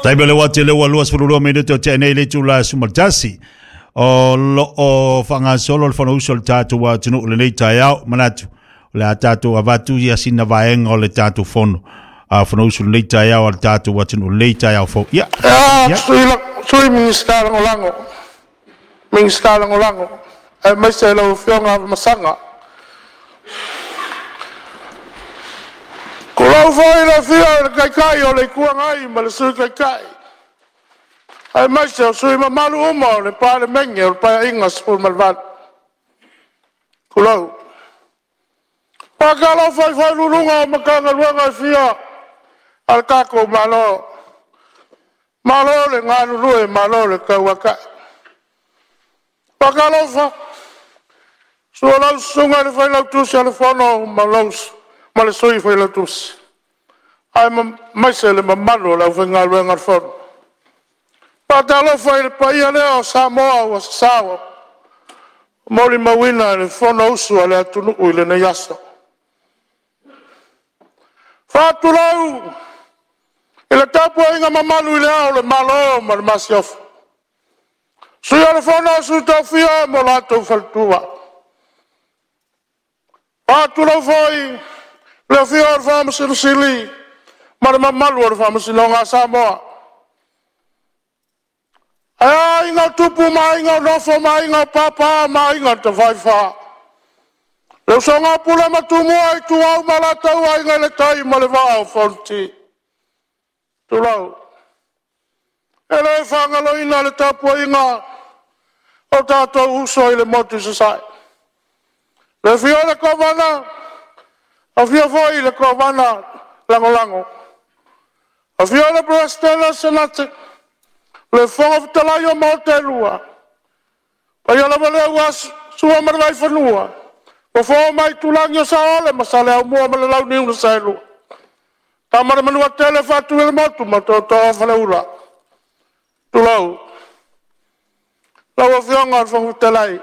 Taimi o le uati le ua 22 minute o tea nei le itula e 11. O lo o faagasolo le Fonousu a le tatou atunuu lenei taeao. Manatu o le a tatou avatu ia sina vaega o le tatou fono. A Fonousu lenei taeao a le tatou atunuu lenei taeao fou. Ia. Ia, Sui Minisita Lagolago, Minisita Lagolago, aemaise lau Afioga Masaga. Tulou foi le afio o le Taitai o le Itu Agai ma le Sui Taitai, aemaise o sui usufono mamalu uma o le Palemene o le Paeaiga 18. Tulou. E faatalofa i Ofisa Sili o Pulega o Matagaluega e fia a le tatou Malo, malo le galulue, malo le tauatai. Faatalofa, susu lau Susuga i le Failautusi o le Fono ma le Sui Failautusi, aemaise le mamalu o le aufaigaluega a le Fono. Faatalofa i le paia lea o Samoa ua sasao molimauina le Fonousu a le atunuu i lenei aso. Faatulou i le tapuaiga mamalu i Le Ao o le Malo ma le Masiofo, Sui o le Fono a Sui Tofia ma lo latou faletua. Faatulou foi i le afio o le Faamasino Sili ma le mamalu o le Faamasinoga a Samoa. Ae a Aiga o Tupu ma Aiga o Nofo ma Aiga o Papa ma Aiga na Tafaifa, le usoga a Pule ma Tumua, Ituau ma Alataua, Aiga i le Tai ma le Vaa o Fonoti. Tulou. E le faagaloina le tapuaiga o tatou uso i le motu i Sasae, le afio o le Kovana, afio foi le Kovana Lagolago, afio le Peresetene o le Senate, le Fofoga Fetalai o Maota e Lua, paia lava lea aua Sua ma le Vaifanua, Fofo ma Aitulagi, Saole ma Saleaaumua ma le Launiu na Saelua, Tama a le Manuatele, Faatui o le Motu ma Tootoo o Faleula. Tulou. Lau Afioga i le Fofoga Fetalai,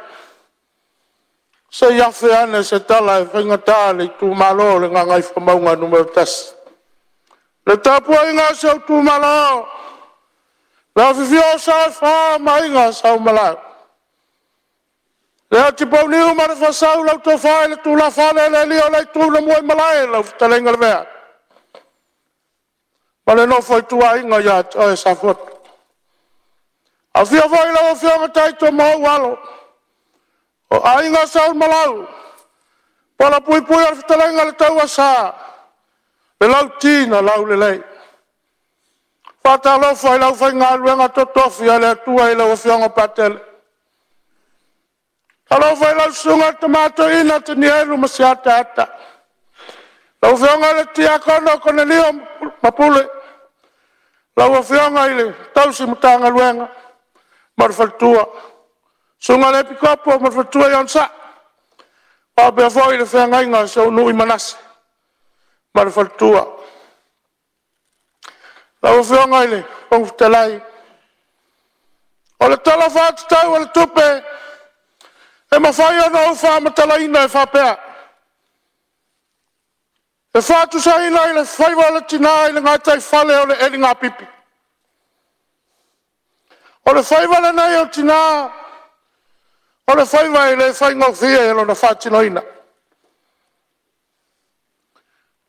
se i afe ane se tala e faigata le itumalo o le Gagaifomauga Nu.1. Le tapuaiga a si ou itumalo, le afifio o Sa e Fa ma Aiga Sa Umalau, le Atipau ma le Faasau lau Tofa i le Tulafale le alii o le Itu na Muaimalae lau fetalaiga Lavea, ma le nofo a ituaiga ia te oe Safotu. Afio foi lau Afioga Taito ma ou Alo, o Aiga Sa Umalau, palavpuipui o le fetalaiga i le Tauasa, le Lauti na Laulelei. Faatalofa i le aufaigaluega totofi a le Atua i lau Afioga Patele. Alofa i lau susuga i le Tama Toeaina Tanielu Masiata lau Afioga i le Tiakono Konelio Mapule, lau Afioga i le tausi Matagaluega ma le faletua, susuga i le Epikopo ma le faletua ia Onosai, faapea foi le feagaiga a si ou nuu i Manase ma le faletua. Lau Afioga i le Fofoga Fetalai, o le Tala Faatatau o le Tupe e mafai ona ou faamatalaina e faapea; e faatusaina i le faiva o le tina i le gataifale o le eligapipi. O le faiva lenei o tina, o le faiva e le faigofie lona faatinoina.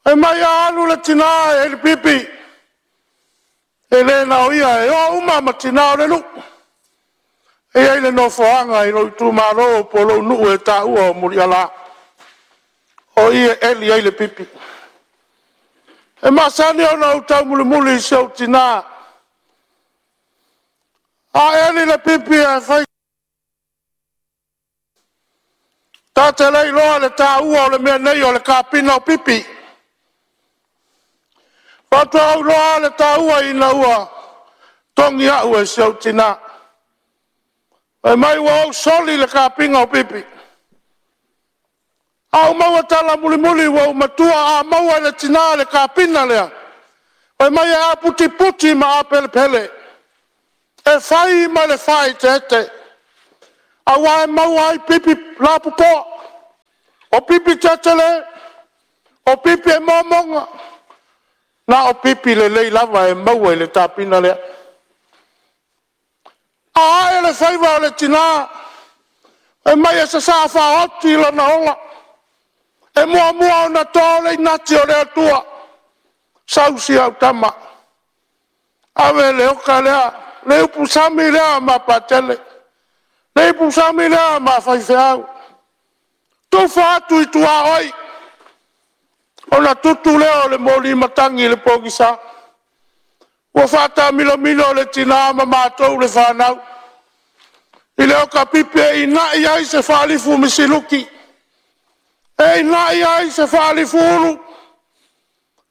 Fai mai a alu le tina e elipipi, e le na o ia, e o uma ma tina o le nuu. E i ai le nofoaga i lou itumalo po o lou nuu e taua o Muliala, o i e eli ai le pipi. E masani ona ou taumulimuli i si ou tina, a eli le pipi ae fai ta te le iloa le taua o le mea nei o le kapina o pipi. Faatoa ou iloa le taua ina ua togi au e si ou tina. Fai mai ua ou soli le kapiga o pipi. A ou maua tala mulimuli ua ou matua, a maua e le tina le kapina lea, fai mai e aputiputi ma apelepele, e fai ma le faaeteete, aua e maua ai pipi lapopoa, o pipi tetele, o pipi e momoga. Na o pipi lelei lava e maua i le tapina lea. A ae le faiva o le tina, fai mai e sasaa faaoti lona ola, e muamua ona to le inati o le Atua, sau si au tama, ave le oka lea, le upusami lea ma Patele, le ipusami lea ma faifeau, tufa atu i tuaoi, ona tutu lea o le moli matagi i le pogisa. Ua faatamilosamilo le tina ma matou le fanau i le oka pipi e inai ai se faalifu misiluki, e inai ai se faalifuulu,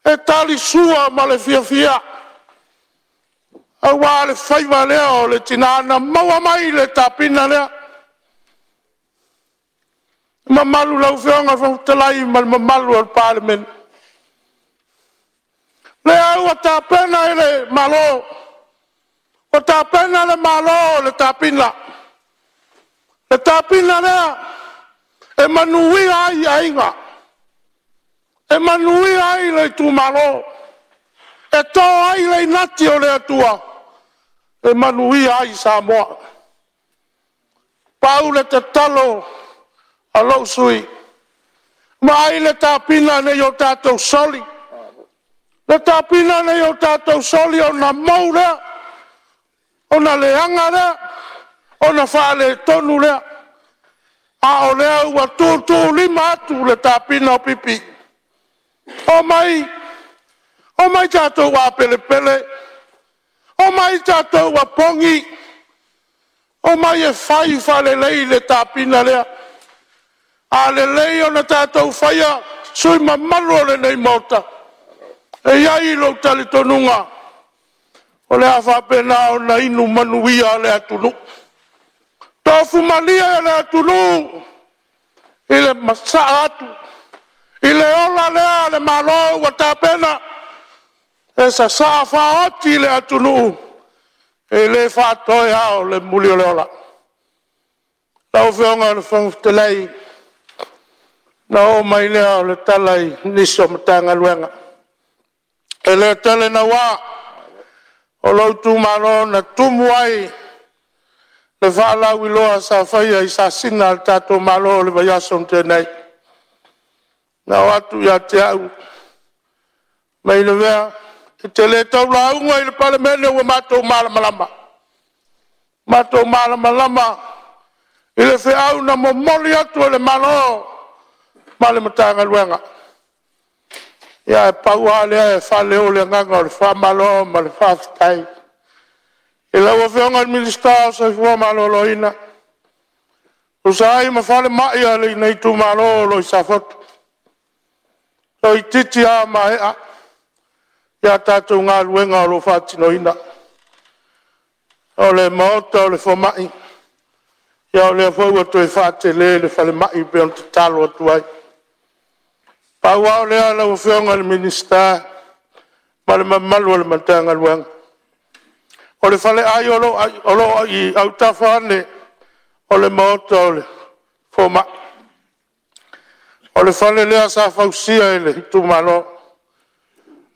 e talisua ma le fiafia, aua le faiva lea o le tina na maua mai le tapina lea. Le mamalu i lau Afioga i le Fofoga Fetalai ma le mamalu o le Palemene, o lea ua tapena e le Malo, ua tapena le Malo le tapina, le tapina lea e manuia ai aiga, e manuia ai le itumalo, e to ai le inati o le Atua, e manuia ai Samoa. Pau le tatalo a lou sui usufono, vaai le tapina ne i o tatou soli, le tapina ne i o tatou soli ona mou lea, ona leaga lea, ona faaletonu lea. A o lea ua tuutuulima atu le tapina o pipi. Omai, omai tatou apelepele, omai tatou apogi, omai e fai faalelei le tapina lea. A lelei ona tatou faia, sui usufono mamalu o lenei Maota, e i ai lou talitonuga, o le a faapena ona inu manuia le atunuu. Tofu malie le atunuu i le masaa atu i le ola lea a le Malo ua tapena, e sasaa faaoti le atunuu, e le faatoe ao le mulioleola. Lau Afioga i le Fofoga Fetalai, ona oo mai lea o le tala i nisi o Matagaluega. E le tele naua, o lou itumalo na tumu ai le faalauiloa sa faia i sasina a le tatou Malo i le vaiaso na tea nei. Na oo atu ia te au, fai mai Lavea, e te le tau lauga i le Palemene ua matou malamalama, matou malamalama i le feau na momoli atu e le Malo ma le Matagaluega. Ia ae pau lava lea e faaleo le agaga o le faamalo ma le faafetai i lau Afioga i le Minisita o le Soifua Maloloina, e tusa ai ma falemai o lenei itumalo o lo o i Safotu. Toeitiiti lava maea a tatou galuega o lo o faatinoina. O le maota o le fomai, ia o lea foi ua toe faatele le falemai e pei ona tatalo atu ai. Pau lava lea lau Afioga i le Minisita ma le mamalu o le Matagaluega, o le faleai o lo o i autafa ane o le maota o le fomai, o le fale lea sa fausia e le itumalo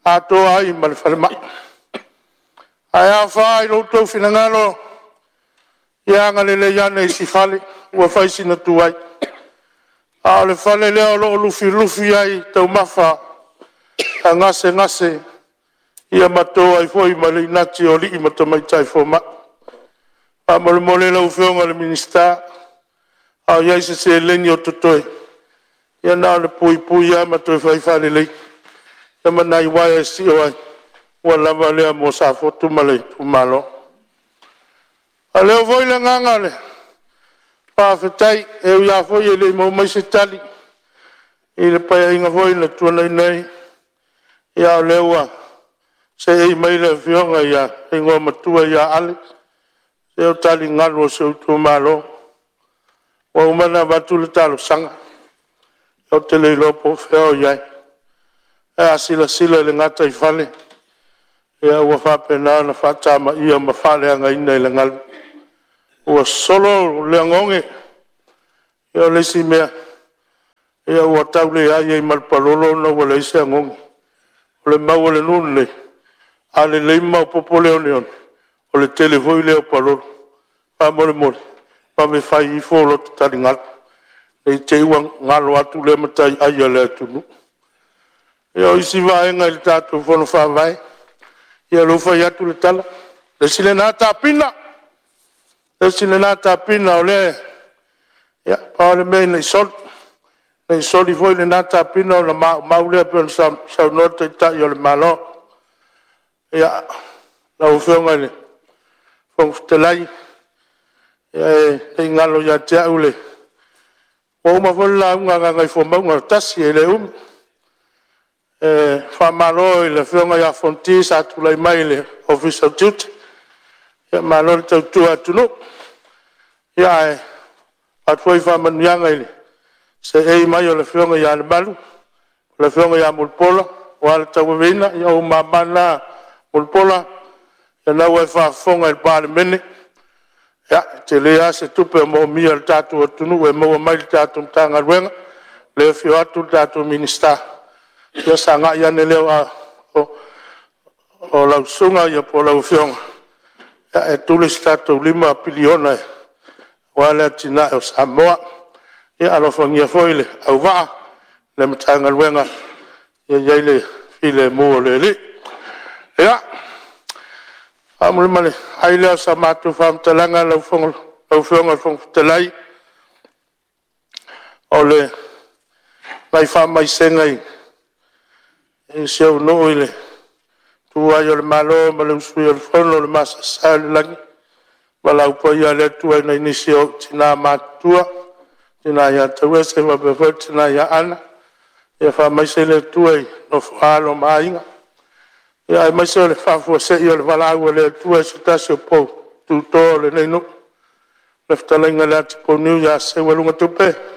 atoa ai ma le falemai. Ae a fa i lo outou finagalo, ia agalelei ane i si fale ua fai sina tuai. A o le fale lea o lo o lufilufi ai taumafa a gasegase ma to ai foi ma le inati o alii ma tamaitai fomai. Faamolemole lau Afioga i le Minisita, a o i ai se seleni o totoe, ia na ona puipui lava ma toe fai faalelei ma nai uaea e sio ai, ua lava lea mo Safotu ma le itumalo. E faaleo foi le agaga o le faafetai, e ui lava foi e le i maua mai se tali i le Paeaiga foi na tuanai nei, a o lea ua seei mai le Afioga i le Igoamatua ia Ale, se o taligalu o si ou itumalo. Ua uma ona avatu le talosaga, ou te le iloa po o fea o i ai. Ae a silasila i le gataifale, ua faapena ona faatamaia ma faaleagaina e le galu, ua solo le ogeoge. O le isi mea, ua tau leai ai ma le palolo ona ua leai se ogeoge. O le mau a le nuu lenei, a lelei ma maopoopo le oneone, o le tele foi lea o palaolu. Faamolemole, vave fai ifo lota taligalu, ne i te i ua galo atu lea mataiai a le atunuu. Ia o isi vaega i le tatou Fono Faavae, ia o lea ua fai atu le tala, le isi lena tapina, le isi lena tapina o lea... Ia pau lava le mea ina ne i soli, ne i soli foi lena tapina ona maumau lea pei ona saunoa le Taitai o le Malo. Ia, lau Afioga i le Fofoga Fetalai, e le i galo ia te au le... Ua uma foi le lauga a Gagaifomauga 1, e le umi. E faamalo i le Afioga ia Fonoti sa tulai mai i le Ofisa o Tiute, malo le tautua atunuu. Ae avatu foi faamanuiaga i le seei mai o le Afioga ia Lemalu, le Afioga ia Mulipola aua le tauaveina. Ia o ou mama na Mulipola, o lena ua e faafofoga i le Palemene, e tele lava se tupe o moomia e le tatou atunuu e maua mai i le tatou Matagaluega. O lea e afio atu le tatou Minisita, ia sagai ane lea o lau susuga po o lau Afioga e tuli se tatou $5 piliona aua le atinae o Samoa. Ia alofagia foi le auvaa ma le Matagaluega ia i ai le filemu o le Alii. Ia, faamulimuli ai lea o sa matou faamatalaga lau Afioga i le Fofoga Fetalai, o nai faamaisega i si ou nuu i le tuua ai o le Malo ma le usuia o le Fono, le masaesae o le lagi, le valaau paia a le Atua i nai nisi o ou tina matutua, le tina ia Tauese faapea foi le tina ia Ana, ia faamaise le Atua i le nofo a alo ma aiga, aemaise o le faafuasei o le valaau a le Atua i se tasi o pou tuto o lenei nuu, le fetalaiga ia Latipouniu ia Seualugatupe.